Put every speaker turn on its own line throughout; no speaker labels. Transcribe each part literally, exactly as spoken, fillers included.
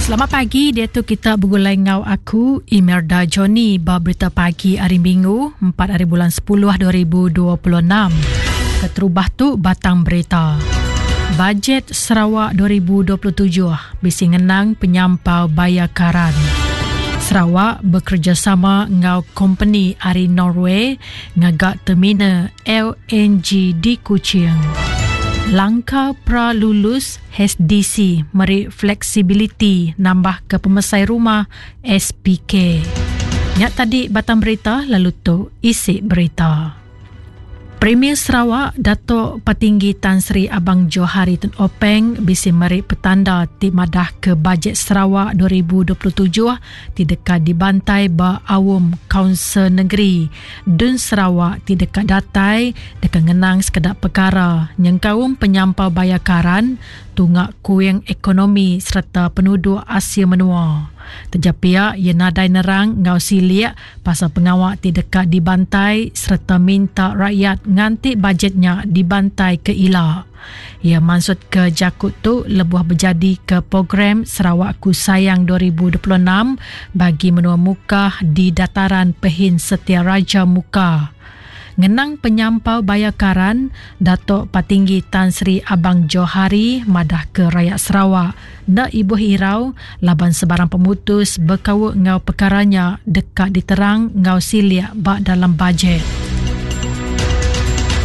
Selamat pagi, dia tu kita bergulai ngau aku Imelda Johnny ba berita pagi hari Minggu empat hari bulan sepuluh dua ribu dua puluh enam. Keterubah tu batang berita. Bajet Sarawak dua ribu dua puluh tujuh bisi ngenang penyampau bayar karan. Sarawak bekerjasama ngau company ari Norway ngagak terminal L N G di Kuching. Langkah pra-lulus H D C meri fleksibiliti nambah ke pemesai rumah S P K. Nyak tadi batang berita, lalu tu isi berita. Premier Sarawak Datuk Patinggi Tan Sri Abang Johari Tun Openg bisi meri petanda ti madah ke bajet Sarawak dua ribu dua puluh tujuh ti dekat dibantai ba Awam Kaunsil Negeri Dun Sarawak ti dekat datai dekat ngenang sekedak perkara nyengkaum penyampau bayar karan, tungak kuing ekonomi serta penduduk Asia menua. Terjapia ia nadai nerang ngau siliak pasal pengawak ti dekat dibantai serta minta rakyat nganti bajetnya dibantai ke ila. Ia maksud ke jakut tu lebuh berjadi ke program Sarawakku Sayang dua ribu dua puluh enam bagi menua Mukah di dataran Pehin Setia Raja Mukah. Ngenang penyampau bayar karan, Datuk Patinggi Tan Sri Abang Johari madah ke rakyat Sarawak nak ibuh irau laban sebarang pemutus berkawuk ngau perkaranya dekat diterang ngau siliak bak dalam bajet.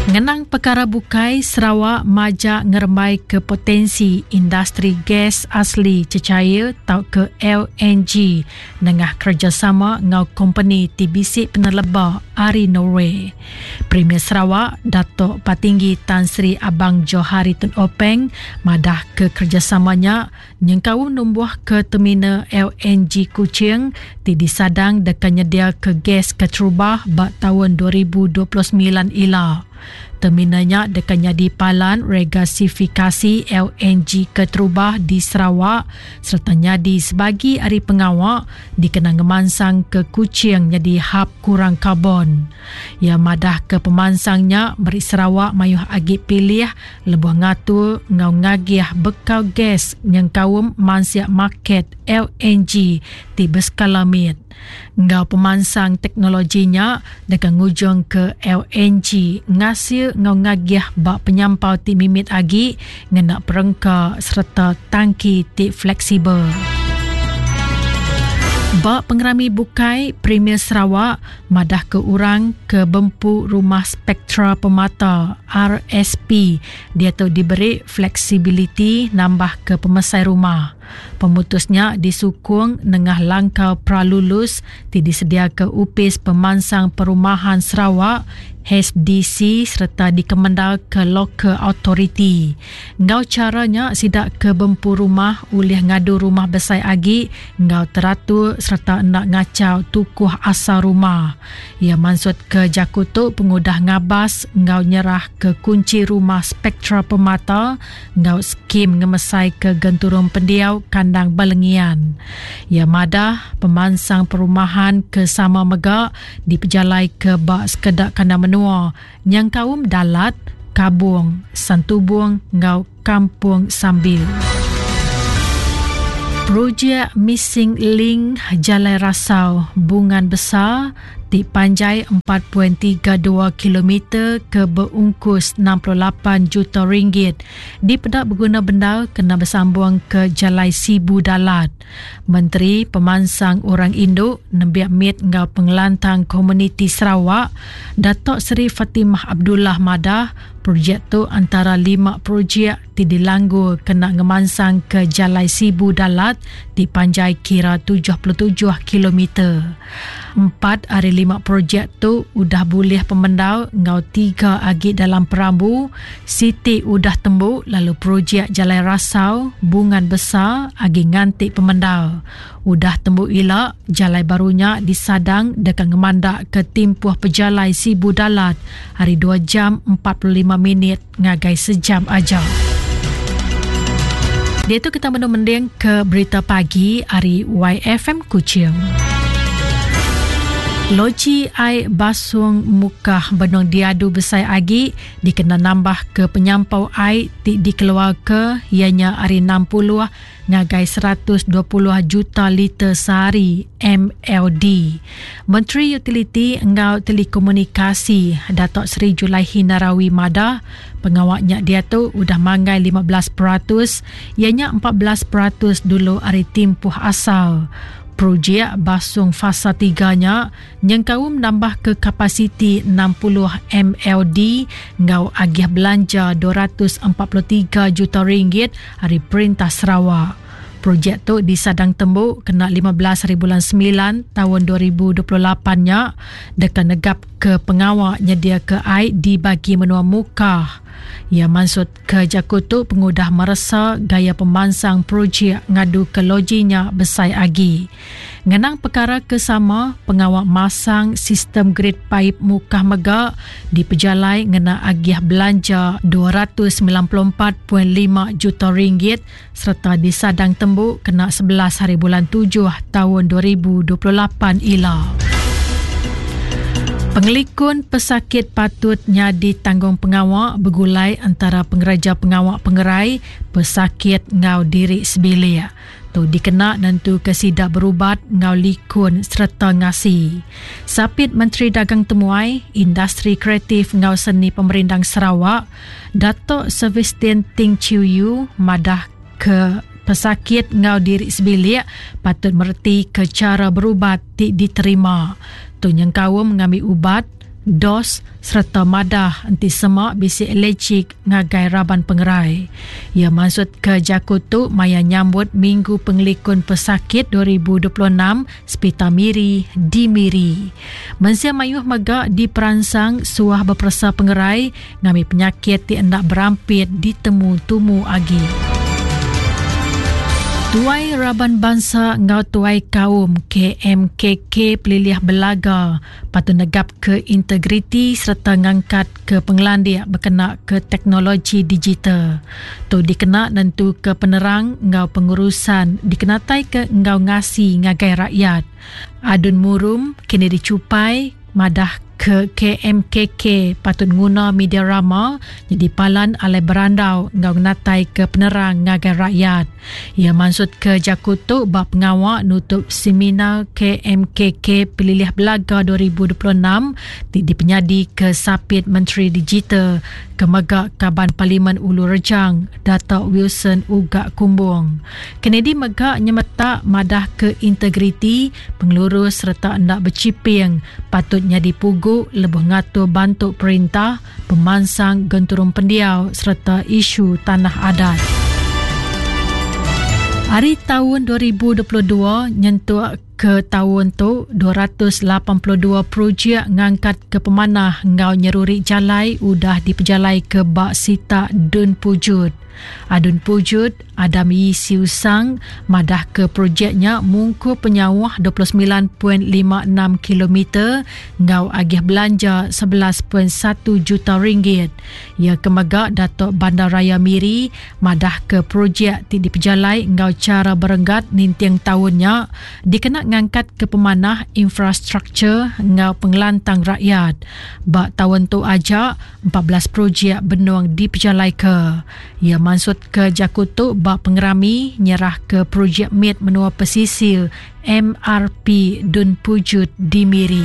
Ngenang perkara bukai, Sarawak majak ngerembai ke potensi industri gas asli cecair tau ke L N G nengah kerjasama ngau company T B C peneleba ari Norway. Premier Sarawak Datuk Patinggi Tan Sri Abang Johari Tun Openg madah ke kerjasamanya nyengkau numbuh ke terminal L N G Kuching ti disadang dekat nyedia ke gas keterubah bak tahun dua ribu dua puluh sembilan ila. Terminalnya dekat jadi palan regasifikasi L N G keterubah di Sarawak serta nyadi sebagi ari pengawak dikenang ngemansang ke Kuching jadi hub kurang karbon. Ia madah ke pemansangnya beri Sarawak mayuh agi pilih lebuh ngatur ngau ngagih bekal gas nyengkaum mansiak market L N G ti berskala mit. Ngau pemansang teknologinya dekat ngujung ke L N G ngasil ngau ngagih bak penyampau ti mimit agi ngena perengka serta tangki ti fleksibel. Bak pengerami bukai Premier Sarawak madah ke orang ke bempu rumah Spektra Permata R S P dia tu diberi fleksibiliti nambah ke pemesai rumah. Pemutusnya disukung nengah langkah pralulus ti disedia ke Upis Pemansang Perumahan Sarawak H D C serta dikemendal ke Local Authority. Ngau caranya sidak ke bempu rumah ulih ngadu rumah besai agi ngau teratur serta nak ngacau tukuh asal rumah. Ia maksud ke jaku tu pengudah ngabas ngau nyerah ke kunci rumah Spektra Permata ngau skim ngemesai ke genturung pendiau kandang Balengian. Ia madah pemansang perumahan ke sama megak dipejalai ke bak sekedak kandang menua yang kaum Dalat, Kabung, Santubong ngau Kampung Sambil. Projek Missing Link Jalai Rasau Bungan Besar ti panjai empat perpuluhan tiga dua kilometer ke berungkus enam puluh lapan juta ringgit dipedak berguna bendar kena bersambung ke Jalai Sibu Dalat. Menteri Pemansang Orang Induk Nembiak Mit ngau Pengelantang Komuniti Sarawak Datuk Seri Fatimah Abdullah madah projek tu antara lima projek ti dilanggur kena ngemansang ke Jalai Sibu Dalat ti panjai kira tujuh puluh tujuh kilometer. Empat hari lima projek tu udah boleh pemendau ngau tiga agi dalam perambu, Siti udah tembuk lalu projek Jalai Rasau Bungan Besar agi nganti pemendau. Udah tembuk ila jalai barunya disadang dekat ngemandak ke timpuh pejalai Sibu Dalat hari dua jam empat puluh lima minit ngagai sejam aja. Dia tu kita mending ke berita pagi hari Y F M Kuching. Loji ai basung Mukah benung diadu besai agi dikena nambah ke penyampau ai ti dikeluar ke ianya ari enam puluh ngagai seratus dua puluh juta liter sehari M L D. Menteri Utiliti enggau Telekomunikasi Datuk Seri Julaihi Narawi madah pengawaknya dia tu udah manggai lima belas peratus ianya empat belas peratus dulu ari timpuh asal. Projek basung fasa tiga nya nyengkaum nambah ke kapasiti enam puluh M L D ngau agih belanja dua ratus empat puluh tiga juta ringgit ari Perintah Sarawak. Projek tu disadang tembuk kena lima belas hari bulan sembilan tahun dua ribu dua puluh lapan nya deka negap ke pengawak nyedia ke ai di bagi menua Mukah. Ia maksud ke jaku tu pengudah meresa gaya pemansang projek ngadu ke lojinya besai agi. Ngenang perkara kesama, pengawak masang sistem grid paip Mukah mega dipejalai ngena agih belanja dua ratus sembilan puluh empat perpuluhan lima juta ringgit serta disadang tembuk kena sebelas hari bulan tujuh tahun dua ribu dua puluh lapan ila. Pengelikun pesakit patut nyadi tanggung pengawak bergulai antara pengereja pengawak pengerai, pesakit ngau diri sebilik. Tu dikena nentu ke sidak berubat ngau likun serta ngasi. Sapit Menteri Dagang Temuai, Industri Kreatif ngau Seni Pemerindang Sarawak, Datuk Sebastian Ting Chiu Yu madah ke pesakit ngau diri sebilik patut mereti ke cara berubat ti diterima. Tu nyengkaum mengambil ubat, dos serta madah enti semak bisi alergik ngagai raban pengerai. Ia maksud ke jaku tu maya nyambut Minggu Pengelikun Pesakit dua ribu dua puluh enam Sepita Miri di Miri. Mensia mayuh mega diperansang suah berperesa pengerai ngambil penyakit ti hendak berampit ditemu tumu agi. Tuai Raban Bangsa ngau Tuai Kaum K M K K Pelilih Belaga patut negap ke integriti serta ngangkat ke pengelandik berkena ke teknologi digital. Tu dikena nentu ke penerang ngau pengurusan dikenatai ke ngau ngasi ngagai rakyat. Adun Murum kini dicupai madah ke K M K K patut nguna media rama jadi palan alai berandau ngau ngenatai ke penerang ngagai rakyat. Ia maksud ke jaku tu bab pengawak nutup seminar K M K K Pelilih Belaga dua ribu dua puluh enam ti dipenyadi ke Sapit Menteri Digital ke mega Kaban Parlimen Ulu Rejang Datuk Wilson Ugak Kumbong. Kennedy mega nyemetak madah ke integriti, pengelurus serta hendak berciping patut nyadi pugu lebuh ngatur bantu perintah, pemansang genturung pendiau serta isu tanah adat. Hari tahun dua ribu dua puluh dua nyentuk ke tahun tu dua ratus lapan puluh dua projek ngangkat ke pemanah ngau nyeruri jalai udah dipejalai ke bak sita Dun Pujut. Adun Pujut Adam Yii Siew Sang madah ke projeknya mungku penyauh dua puluh sembilan perpuluhan lima enam kilometer ngau agih belanja sebelas perpuluhan satu juta ringgit. Ia kemega Datuk Bandaraya Miri madah ke projek ti dipejalai ngau cara berenggat ninting tahunnya dikena ngangkat ke pemanah infrastruktur ngau pengelantang rakyat. Bak tahun tu aja empat belas projek benuang dipejalai ke. Ia maksud ke jaku tu bak pengerami nyerah ke projek M I D menua pesisir M R P Dun Pujut di Miri.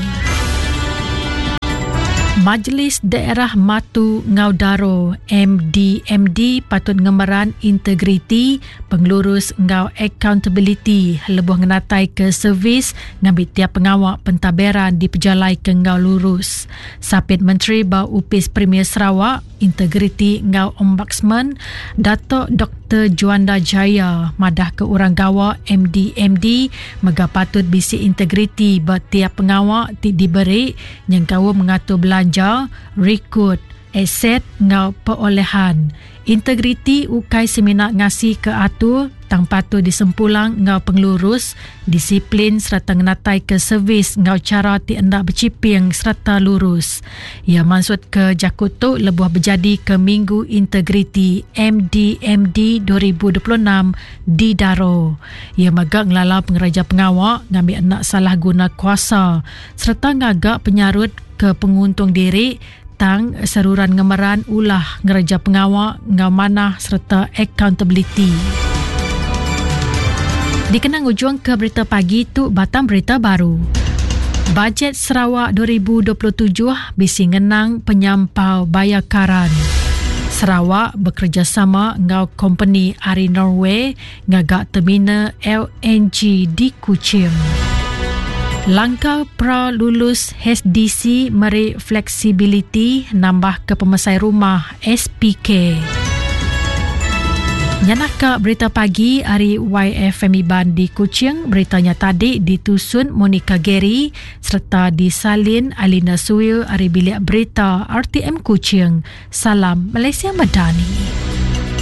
Majlis Daerah Matu Ngau Daro M D M D patut ngemeran integriti, pengelurus ngau accountability lebuh ngenatai ke servis ngambil tiap pengawak pentadbiran dipejalai ke ngau lurus. Sapit Menteri Bau Upis Premier Sarawak, Integriti ngau Ombudsman Datuk Doktor Juanda Jaya madah ke orang gawa M D M D mega patut bisi integriti ba tiap pengawak ti diberi nyengkaum mengatur belanja, rekod, aset enggau perolehan. Integriti ukai semina ngasi ke atur tang patut disempulang enggau pengelurus, disiplin serta ngenatai ke servis enggau cara ti enda berciping serta lurus. Ia maksud ke jakut tu lebuh berjadi ke Minggu Integriti M D M D dua ribu dua puluh enam di Daro. Ia megak ngelala pengeraja pengawak ngambil anak salah guna kuasa serta ngagak penyarut ke penguntung diri tang seruran ngemeran ulah ngereja pengawak ngau manah serta accountability. Dikenang ujung ke berita pagi tu batang berita baru. Bajet Sarawak dua ribu dua puluh tujuh bisi ngenang penyampau bayar karan. Sarawak bekerjasama ngau company ari Norway ngagak terminal L N G di Kuching. Langkah pra lulus H D C meri fleksibiliti nambah ke pemesai rumah S P K. Nyanaka berita pagi hari Y F M Iban di Kuching. Beritanya tadi ditusun Monica Gary serta disalin Alina Suil hari bilik berita R T M Kuching. Salam Malaysia Madani.